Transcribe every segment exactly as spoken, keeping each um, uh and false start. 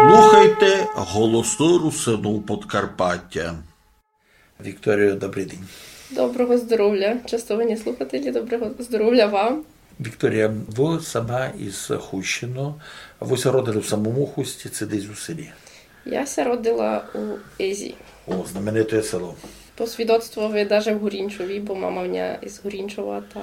Слухайте Голосы Русинув Подкарпатя. Вікторіо, добрый день. Доброго здоровля, честовані слухателі, доброго здоровля вам. Вікторія, вы сама из Хустины, вы ся родили в самому Хусті, ци десь у селі? Я ся родила у Езі. О, знамените село. По свідоцтвови даже в Горінчові, бо мама в ня из Горінчова, та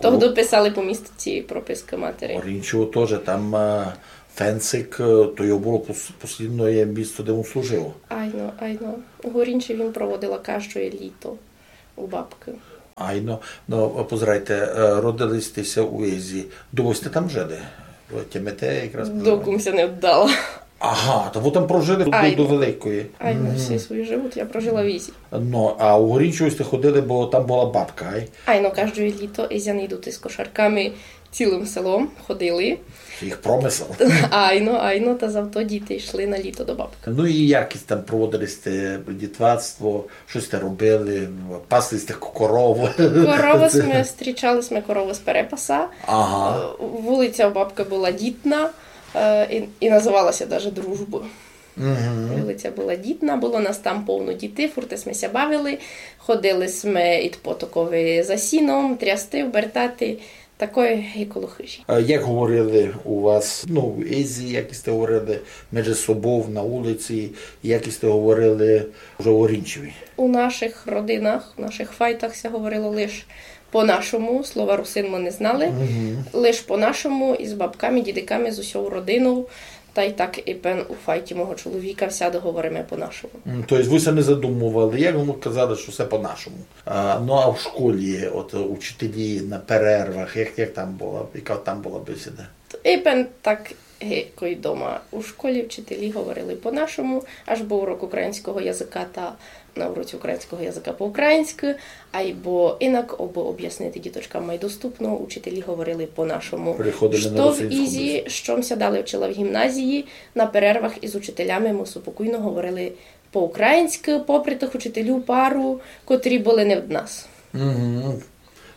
тогды писали по містці прописка матери. Горінчово тоже, там, е, Фенцик, е, то його было пос-, послідноє місто, де він служив. Айно, айно. У Горінчеві м проводила каждоє літо у бабкы. Айно. Но, позирайте, е, родили сьте ся у Езі. Довго сьте там жили? Тямите якраз? Докум ся не вдала. Ага, та вы там прожили до, до великої. Айно, всі свої живот я прожила в Езі. Но, а у Горінчово сьте ходили, бо там была бабка, ай? Айно, каждоє літо езяни йдуть из кошарками цілым селом, ходили. Їх промысел. Айно, айно, та завто діти йшли на літо до бабкы. Ну і як там проводили сьте дітвацтво, што сьте робили, пасли сьте коровы? Коровы сьме, стрічали сьме коровы з перепаса. Ага. Е, вулиця у бабкы была Дітна, е, і, і называла ся даже Дружбы. Вулиця была Дітна, было нас там повно дітей, фурт сьме ся бавили, ходили сьме ид потокови за сіном, трясти, обертати, такоє ги коло хыжі. А як говорили у вас, ну, в Езі, як сьте говорили межи собов на улици, як сьте говорили вже у Горінчеві? У нашых родинах, у нашых файтах ся говорило лиш по-нашому, слова русин мы не знали, лиш по-нашому, из бабками, дідиками, з усьов родинов. Тай так і пен у файті мого чоловіка всяды говориме по-нашому. М, то єсть вы ся не задумовали, як вам казали, што всьо по-нашому? А, ну, а в школі, от, учителі на перервах, як, як там было, яка там была бесіда? І пен так ги кой дома. У школі вчителі говорили по-нашому, аж быв урок українського языка, та на уроці українського языка по-українськы, айбо инак, обы обяснити діточкам май доступно, учителі говорили по-нашому. Переходили на русинську. Што в Ізі, што м ся далі вчила в гімназії, на перервах из учителями мы супокійно говорили по-українськы, попри тых учителів пару, котрі были не од нас. Мгм.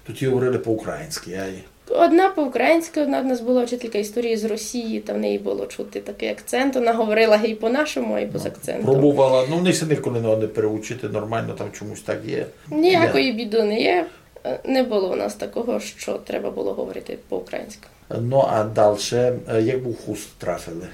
Тоді говорили по-українськы, ай. Одна по-українськы, одна в нас была вчителька історії з Росії, та в неї было чути такый акцент, она говорила гей по-нашому, гей з акцентом. Пробовала, ну, в них ся николи не, не переучити, нормално там чомусь так є. Ніякої біды не є. Е, не было у нас такого, што треба было говорити по-українськы. Ну, а дальше, е, як вы у Хуст трафили?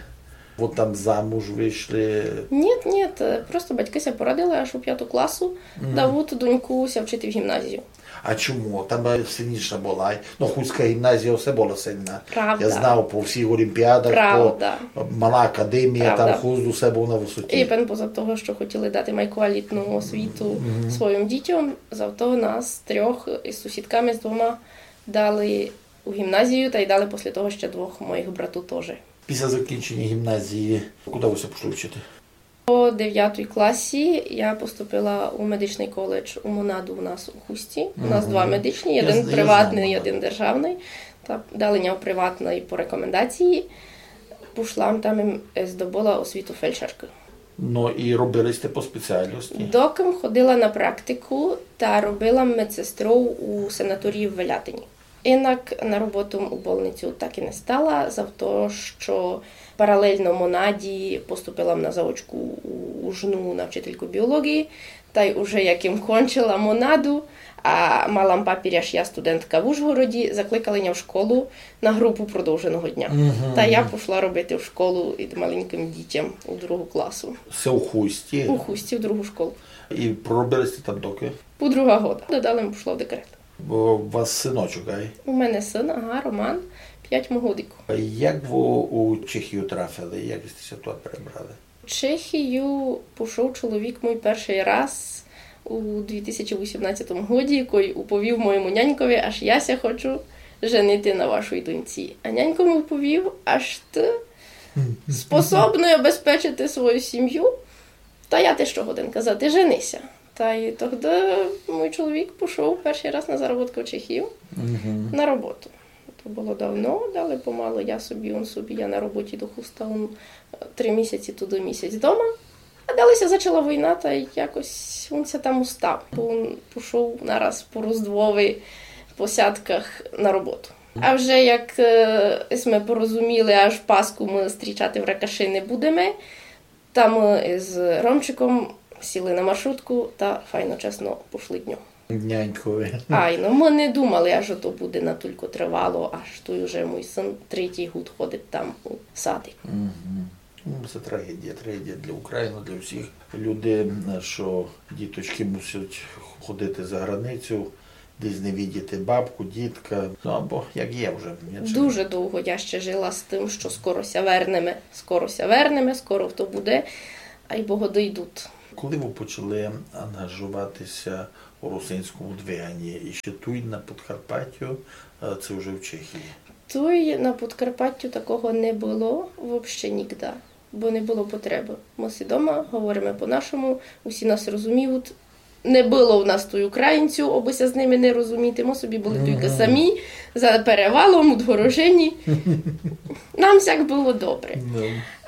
Вы там замуж вышли? Ніт, ніт, е, просто батькы ся порадили, аж у пяту класу давут доньку ся вчити в гімназію. А чому? Там, е, сильніша была. Ну, Хустська гімназія все была сильна. Правда. Я знав, по всіх олімпіадах, по, е, Мала академія, там Хуст усе быв на высоті. І пен поза того, што хотіли дати май квалітну освіту своїм дітям, зато нас трьох из сусідками з двома дали у гімназію, тай дали после того ще двох моїх брату тоже. Після закінчення гімназії, куды вы ся пішли вчити? По девятій класі я поступила у медичный коледж у Монаду у нас у Хусті. У нас два медичні, єден приватный, єден державный. Та дали ня у приватный по рекомендації. Пішла там і здобыла освіту фельдшеркы. Ну, і робили сьте по спеціальности? Докы м ходила на практику та робила медсестров у санаторії в Велятині. Инак на роботу у больницю так і не стала, за то, што паралельно Монаді поступила м на заочку у, у ЖНУ на вчительку біології, тай уже як им кончила Монаду, а мала м папір, ож я студентка в Ужгороді, закликали ня в школу на групу продовженого дня. Мгм. Та я пішла робити в школу ид маленькым дітям у другу класу. Се у Хусті? У Хусті, в другу школу. І проробили сьте там докы? По друга года. Далі м пішла в декрет. Бо у вас сыночок, ай? У мене сын, ага, Роман, пять му годиків. Як вы у Чехію трафили? Як сьте ся туй перебрали? В Чехію пішов чоловік мій першый раз у дві тисячі вісімнадцятому годі, кой уповів моєму нянькови, ож я ся хочу женити на вашій доньці. А нянько му уповів, ож ты способный обезпечити свою сім'ю, та я ти што годен казати, жени ся. Тай тогды мій чоловік пішов першый раз на заработкы в Чехію на роботу. То было давно, далі помалы я собі, он собі, я на роботі до Хуста, он, е, три місяці туды, місяць дома. А далі ся зачала война, та якось он ся там устав. Бо он пішов нараз по Роздвови, по Сятках на роботу. А вже як е, сьме порозуміли, аж Пасху мы зустрічати в Ракаши не будеме, та мы із Ромчиком сіли на маршрутку та файно чесно пошли дньом. Нянькови. Айно, мы не думали, аж ото буде натулько тривало, аж туй уже мій сын третій год ходить там у садик. Ну, се трагедія, трагедія для України, для всіх людей, што діточкы мусять ходити за границю, десь не видіти бабку, дітка. Ну, або як є вже. Я чи- Дуже довго я ще жила з тым, што скоро ся вернеме, скоро ся вернеме, скоро то буде, айбо годы йдуть. Коли вы почали ангажовати ся у русинському двиганні? І ще туй на Подкарпаттю, е, ци вже в Чехії? Туй на Подкарпаттю такого не было вообще нігда, бо не было потребы. Мы си дома, говориме по-нашому, усі нас розуміють. Не было у нас туй українців, обы ся з ними не розуміти. Мы собі были тілько самі, за перевалом, удгорожені. Нам сяк было добре.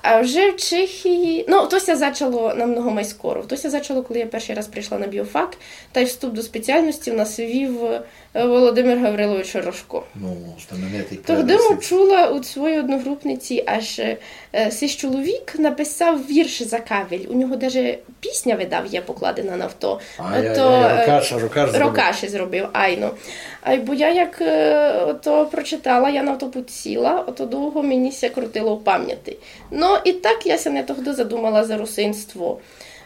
А вже в Чехії, ну, то ся зачало намного май скоро. То ся зачало, коли я першый раз прийшла на біофак, тай вступ до спеціалности у нас вів е, Володимир Гаврилович Рожко. Ну, знаменитый Тогды м чула од своєї одногрупниці, аж е, сись чоловік написав вірш за кавель. У нього даже пісня, видав, є покладена на авто. А, я, я, я, е, Рокаш, Рокаш зробив. Рокаш зробив, айно. Айбо я як е, то прочитала, я на то подсіла, ото довго мені ся крутило в памяти. Но і так я ся не тогды задумала за русинство.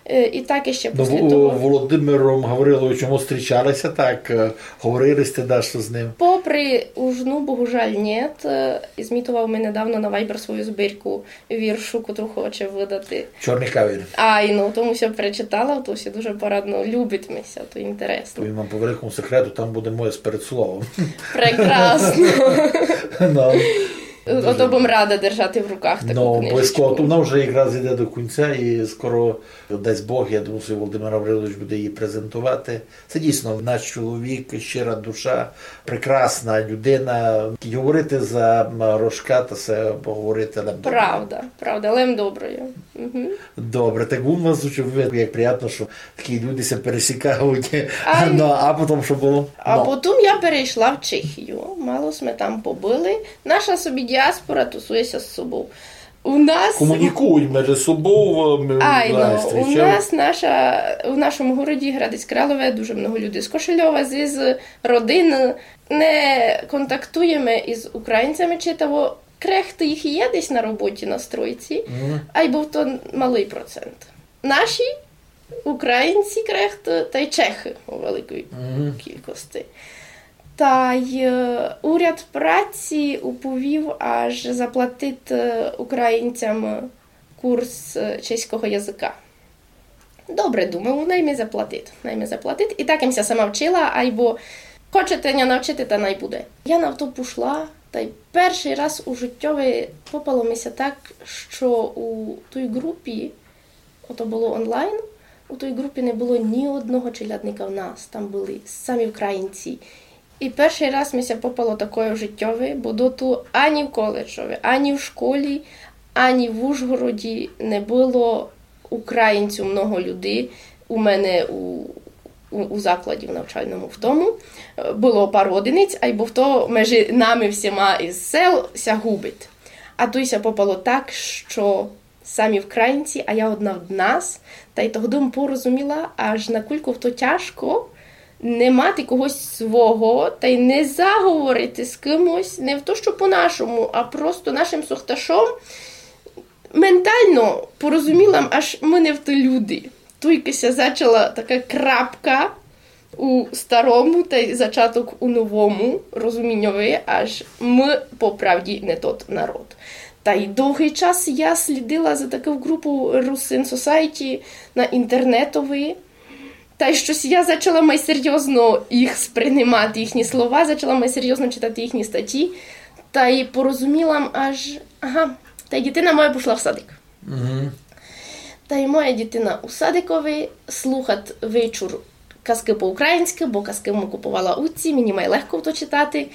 Е, і так іще після того. Ну, Володимиром Гавриловичем зустрічали ся так, е, говорили сьте дашто з ним? Попри ужну, богужаль, нєт. Е, змітовав ми недавно на Viber свою збірку віршу, котру хоче выдати. Чорный кавель. Айно, то м ся перечитала, то ся дуже порадно, любить ми ся, то інтересно. Повім вам по великому секрету, там буде моє з передсловом. Прекрасно. Ну. Ото бым рада держати в руках таку книжечку. Ну, обовязково. Вона вже якраз іде до кінця і скоро, дасть Бог, я думаю, што Володимир Гаврилович буде її презентовати. Се дійсно наш чоловік, щира душа, прекрасна людина. Говорити за, м, Рожка, та се говорити лем добре. Правда, правда, лем добре. Мгм. Добре, так у вас, як приємно, што такі люди ся пересікають. Ну, а потім што было? А потім я перейшла в Чехію. Мало сьме там побыли. Наша собі діаспора тусує ся з собов. У нас... Комунікують межи собов, е, Айно, у нас наша, у нашому городі Градець Кралове дуже много людей з Кошельова, з, з родины. Не контактуєме із українцями читаво. Крехты їх є десь на роботі, на стройці, айбо то малый процент. Наші, українці крехты, тай чехы у великій кількости. Тай е, уряд праці уповів, аж заплатить е, українцям курс е, чеського языка. Добре, думаю, най ми заплатить, най ми заплатить. І так им ся сама вчила, айбо хочете ня навчити, та най буде. Я на то пошла, тай першый раз у життьови попало ми ся так, што у той групі, ото было онлайн, у той групі не было ні одного челядника в нас, там были самі українці. І першый раз ми ся попало такоє в життьови, бо доту ані в коледжови, ані в школі, ані в Ужгороді не было українців много людей у мене у, у, у закладі, в навчальному в тому. Е, было пару одиниць, айбо то межи нами всіма із сел ся губить. А туй ся попало так, што самі українці, а я одна од нас, тай тогды м порозуміла, аж накулько то тяжко не мати когось свого, тай не заговорити з кимось, не в то, што по-нашому, а просто нашим сохташом. Ментално порозуміла м, аж мы не вты люди. Туйкы ся зачала така крапка у старому тай зачаток у новому розуміньови, аж мы по правді не тот народ. Тай довгый час я слідила за таку групу Русин Сосайті на інтернетови. Тай штось я зачала май серйозно їх сприймати, їхні слова, зачала май серйозно читати їхні статті. Тай порозуміла м аж, ага, тай дітина моя пошла в садик. Тай моя дітина у садикови слухат вечур казкы по-українськы, бо казкы м куповала у ци, мені май легко то читати.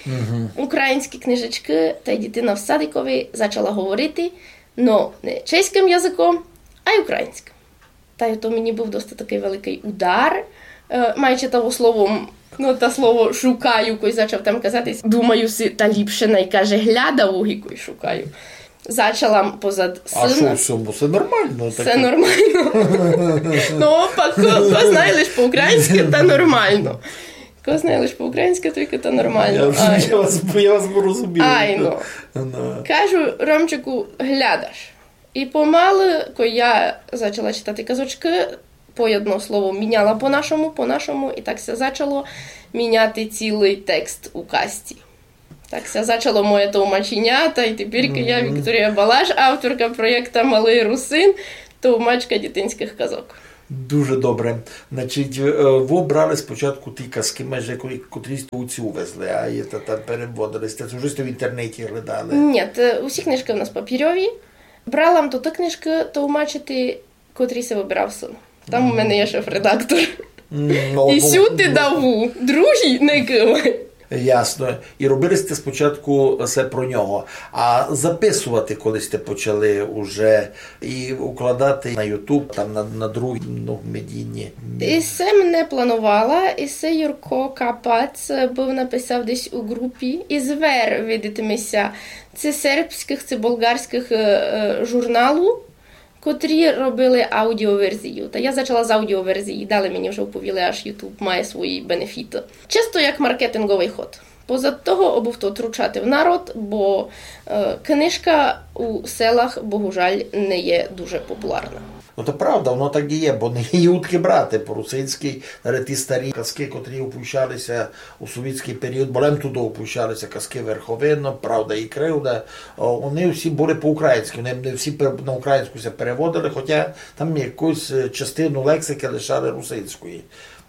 Українські книжечкы, тай дітина в садикови зачала говорити, но не чеськым языком, ай українськым. Тай то мені быв доста такый великый удар, Е, май читаву словом, ну, та слово шукаю, кой зачав там казати, думаю си, та ліпше най каже глядаву, ги кой шукаю. Зачала м позад сына. А што в сьому? Всьо нормално. Всьо нормално. Ну, пак ко, ко знає лиш по-українськы, та нормално. Ко знає лиш по-українськы, тілько та нормално. Я, я вас, я вас порозумів. Айно. Ну. Кажу: Ромчику, глядаш. И помалы, кой я зачала читати казочкы, по єдно слово міняла по-нашому, по-нашому, и так ся зачало міняти цілый текст у казці. Так ся зачало моє товмаченя, тай тепер я, Вікторія Балаш, авторка проєкта Малый русин, товмачка дітинськых казок. Дуже добре. Значить, е, вы брали спочатку ті казкы, майже котрі, котрі сьте у ци увезли, а є та там переводили сьте, уже сьте в інтернеті глядали? Ні, то усі книжкы у нас папірьові. Брала м тоты книжкы товмачити, котрі си выбирав сын. Там у мене є шеф-редактор. М, ну, и сюды даву, другі не кывай. Ясно. И робили сьте спочатку всьо про нього. А записовати коли сьте почали уже и укладати на YouTube, там на, на другі, ну, медійні? И се м не планувала, и се Юрко Капац быв написав десь у ґрупі. И звер, видить ми ся, ци сербськых, ци болґарськых, е, е, журналу, котрі робили аудіоверзію. Та я зачала з аудіоверзії, далі мені вже оповіли, аж YouTube має свої бенефіты. Чисто як маркетинґовый ход. Позад того, обы то втручати в народ, бо, е, книжка у селах, богужаль, не є дуже популярна. Ну, то правда, воно так и є, бо не є удкы брати по-русинськы, навіть ті старі казкы, котрі опущали ся у совітськый період, бо лем туды опущали ся казкы Верховина, Правда и кривда, о, они всі были по-українськы, они не всі пер-, на українську ся переводили, хотя там якусь, е, частину лексикы лишали русинської.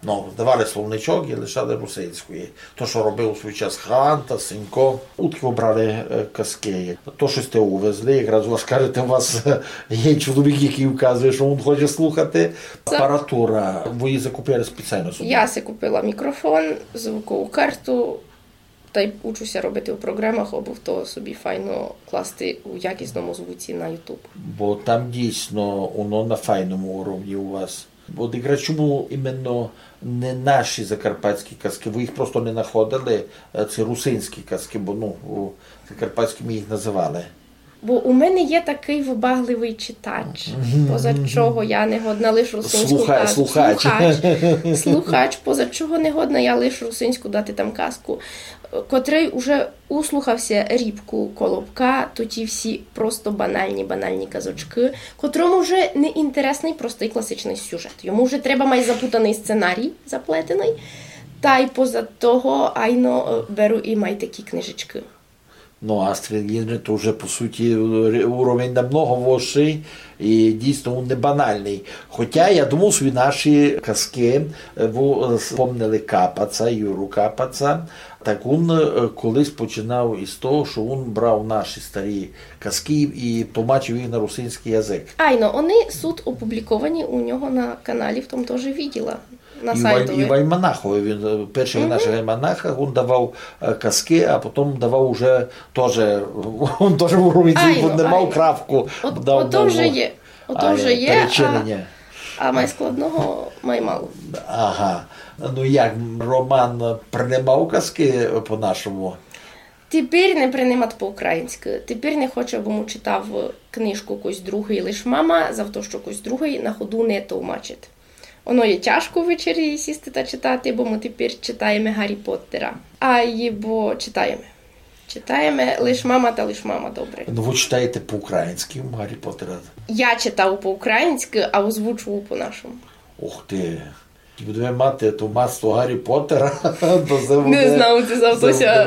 Ну, давали словничок и лишали русинської. То, што робив у свій час Ганта, Сенько. Удкы обрали, е, казкы? То, што сьте увезли, якраз у вас, кажете, у вас, е, є чоловік, якый указує, што він хоче слухати. Апаратура, вы її закупили спеціално собі? Я си купила мікрофон, звукову карту, тай учу ся робити у програмах, обы то собі файно класти у якісному звуці на YouTube. Бо там дійсно воно на файному уровні у вас. От якраз чому іменно не наші закарпатські казкы? Вы їх просто не находили, е, ці русинські казкы, бо, ну, у закарпатські мы їх называли. Бо у мене є такый вибагливый читач, поза чого я не годна лиш русинську казку. Слухач. Слухач, поза чого не годна я лиш русинську дати там казку, котрый уже услухав ся Рібку Колобка, то ті всі просто банальні, банальні казочкы, котрому вже не інтересный простый класичный сюжет. Йому вже треба май запутаный сценарій заплетеный. Тай поза того, айно, е, беру и май такі книжечкы. Ну, Астрид Ліндрен то вже, по суті, ре-, уровень намного высшый и дійсно він не банальный. Хотя, я думав собі, наші казкы, е, вы, е, спомнили Капаца, Юру Капаца, так він, е, колись починав из того, што він брав наші старі казкы и тлумачив їх на русинськый язык. Айно, они суть опубліковані у нього на каналі, в тому тоже виділа. На сайтови. И в альманахови він, е, першых нашых альманахах він давав, е, казкы, а потом давав уже тоже, він тоже в уровень, він не мав крапку, дав, ото вже є, ото вже є, перечинення. А май складного май мало. Ага. Ну як, Роман принимав казкы по-нашому? Тепер не принимат по-українськы. Тепер не хоче, бо му читав книжку кось другый, лиш мама, за то, што кось другый на ходу не товмачить. Оно є тяжко ввечері сісти та читати, бо мы тепер читаєме Гаррі Поттера. Айбо читаєме. Читаєме лиш мама та лиш мама, добре. Ну, вы читаєте по-українськы Гаррі Поттера? Я читаву по-українськы, а озвучуву по-нашому. Ух ты. Будеме мати товмацтво Гаррі Поттера, то се буде велике. Не знаву, ци за то ся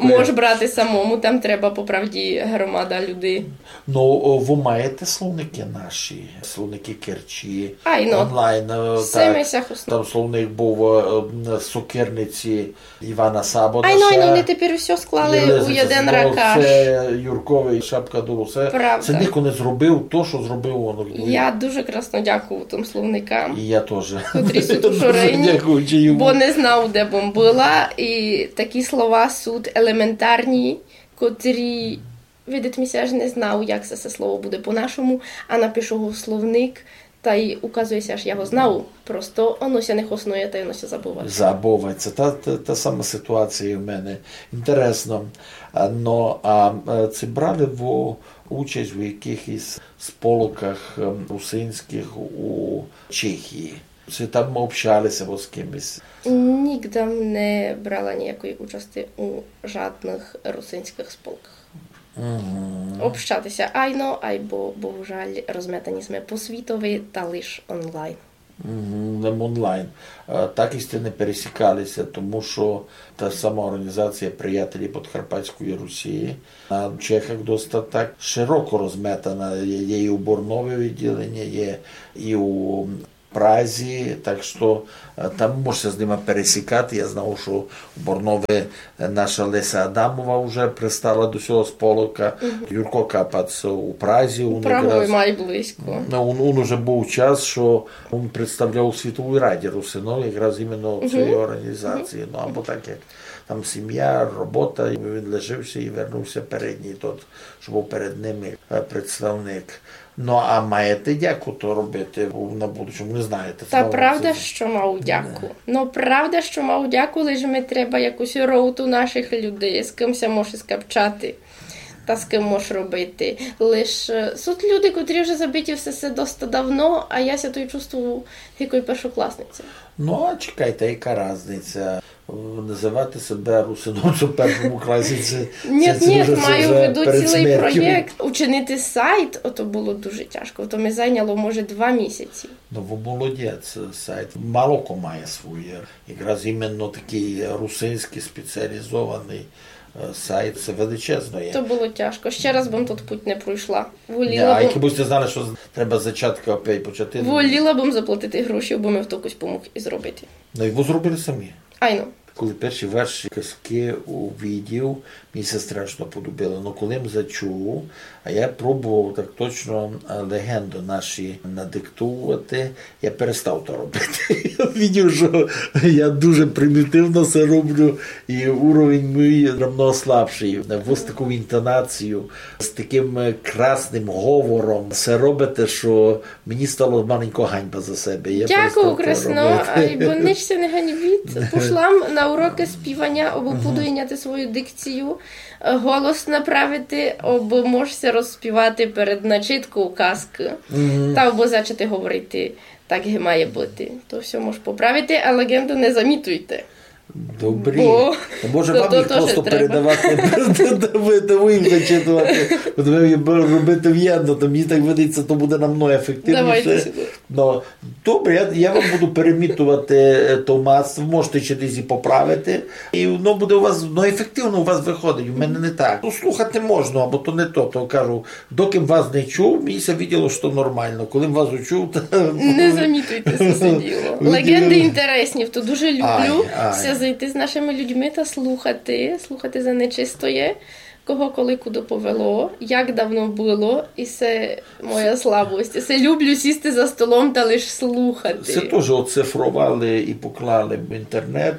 мож брати самому, там треба по правді громада людей. Ну, о, вы маєте словникы наші, словникы Керчі, онлайн, е, так, там словник быв, е, м, Сокирниці Івана Сабодаса. Айно, айно, они тепер усьо склали у єден ракаш. Юрковый, Шапка дуру, се, се нико не зробив то, што зробив он. Я дуже красно дякую тым словникам. И я тоже. Котрі суть у Шорені, бо не знаву, де бым была, и такі слова суть елементарні, котрі, видить ми ся, аж не знаву, як се, се слово буде по-нашому, а напишу го в словник, Тай указує ся, ож я го знав. Просто оно ся не хоснує, тай оно ся забуває. Забуває ся. Та, та, та сама ситуація і в мене. Інтересно. А, но, а, е, ци брали вы участь у якыхось сполоках, ем, русинськых у Чехії? Ци там общали ся вы з кимось? Нігде не брала ніякої участи у жадных русинськых сполках. Мгм. Общати ся айно, айбо, богужаль, розметані сьме по світови, та лиш онлайн. Мгм, лем онлайн. Е, так і сьте не пересікали ся, тому што та сама орґанізація Приятелі Подкарпатської Русі на Чехах доста так широко розметана. Є, є і у Борнові відділеня, є і у Празі, так што, е, там мож ся з нима пересікати. Я знав, што у Борнові, е, наша Леся Адамова вже пристала до сього сполока. Мгм. Юрко Капац у Празі, у Прагови якраз май близько. Ну, ун, ун уже быв час, што ун представляв у Світовій раді русинов, якраз іменно в цій організації. Ну, або так, як там сім'я, робота, і він лишив ся і вернув ся перед ній тот, што быв перед ними, е, представник. Ну, а маєте дяку то робити у, на будущому? Не знаєте. Та правда, што мав дяку. Ну, правда, што мав дяку, лиш ми треба якусь роуту нашых людей, з ким ся може скапчати та з ким мож робити. Лиш, е, суть люди, котрі вже забиті в сесе доста давно, а я ся туй чувствую, як першокласниця. Ну, а чекайте, яка разниця? Называти себе русином у першому класі, ци, ци, ци маю в виду цілый проєкт. Учинити сайт, ото было дуже тяжко. То ми зайняло, може, два місяці. Ну, вы молодець, сайт. Мало ко має своє. Якраз іменно такый русинськый спеціалізованый, е, сайт, се величезно є. То было тяжко. Ще раз бым тот путь не пройшла. Воліла бым... А якби сьте знали, што з-, треба з зачатка опять почати. Воліла бым заплатити гроші, абы ми хтокось помуг і зробити. Ну, і вы зробили самі? Айно. Коли перші ваші казкы увидів, мені ся страшно подобило. Но коли м зачув, а я пробовав так точно, а, легенды наші надиктовувати, я перестав то робити. Я видів, што я дуже примітивно се роблю, і уровень мій намного слабшый. Вы з таков інтонаційов, з такым, е, красным говором се робите, што мені стало маленько ганьба за себе. Я перестав то робити. Дякую, красно, айбо нич ся не ганьбіть. Пошла м на урокы співаня, абы подуйняти свою дикцію, е, голос направити, абы мож ся розспівати перед начитков казкы. Мгм. Та абы зачати говорити так, як має быти. То всьо мож поправити, а леґенды не замітуйте. Добрі. Бо... Може, то, вам то їх тоже просто треба передавати, та вы, та вы їх зачитувати. От вы їх робите вєдно, то мені так видить ся, то буде намного ефективніше. Давайте сюды. Ну, добре, я, я вам буду перемітувати, е, томац, можете ще десь і поправити. І воно буде у вас, ну, ефективно у вас виходить, у мене не так. Ну, слухати можна, або то не то, то кажу, Докы м вас не чув, мені ся виділо, што нормално. Коли м вас учув, та... Не замітуйте се діло. Леґенды інтересні, то дуже люблю ся зайти з нашыми людьми та слухати, слухати за нечистоє, кого коли куды повело, як давно было, і се моя слабость. Се люблю сісти за столом та лиш слухати. Се тоже оцифровали і поклали в інтернет.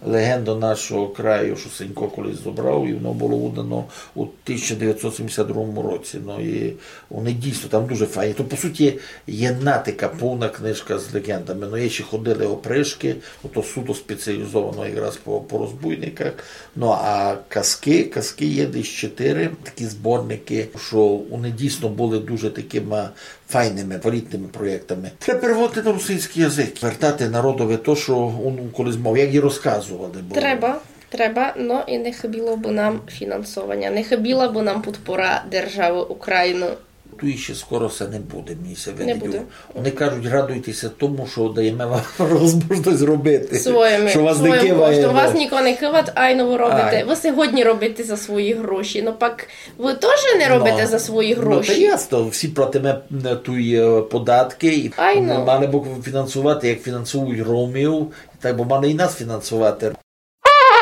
Леґенды нашого краю, што Сенько колись зобрав, і воно было выдано у тисяча девятьсот семьдесят другому році. Ну, і вони дійсно там дуже файні. То, по суті, є натика, повна книжка з леґендами. Ну, є ще «Ходили опришкы», ото суто спеціалізовано якраз по, по розбойниках. Ну, а казкы, казкы є десь чотири такі зборникы, што вони дійсно были дуже такыма файными, квалітными проєктами. Треба переводити на русинськый язык, вертати народови то, што он колись мав, як і розказовали. Бо... Треба, треба, но і не хыбіло бы нам фінансованя, не хыбіла бы нам подпора державы Україны. Туй іщи скоро се не буде, мені ся видить. Не буде. Вони кажуть, радуйте ся тому, што даєме вам возможность робити. Своїми, што вас не киває, коштом. Вас нико не киват, айно вы робите. Ай. Вы сьогодні робите за свої гроші, но пак Вы тоже не робите за свої гроші. Ну, та ясно, всі платиме, е, туй, е, податки, і... Айно. Мали бы фінансовати, як фінансують ромів, так бы мали і нас фінансовати.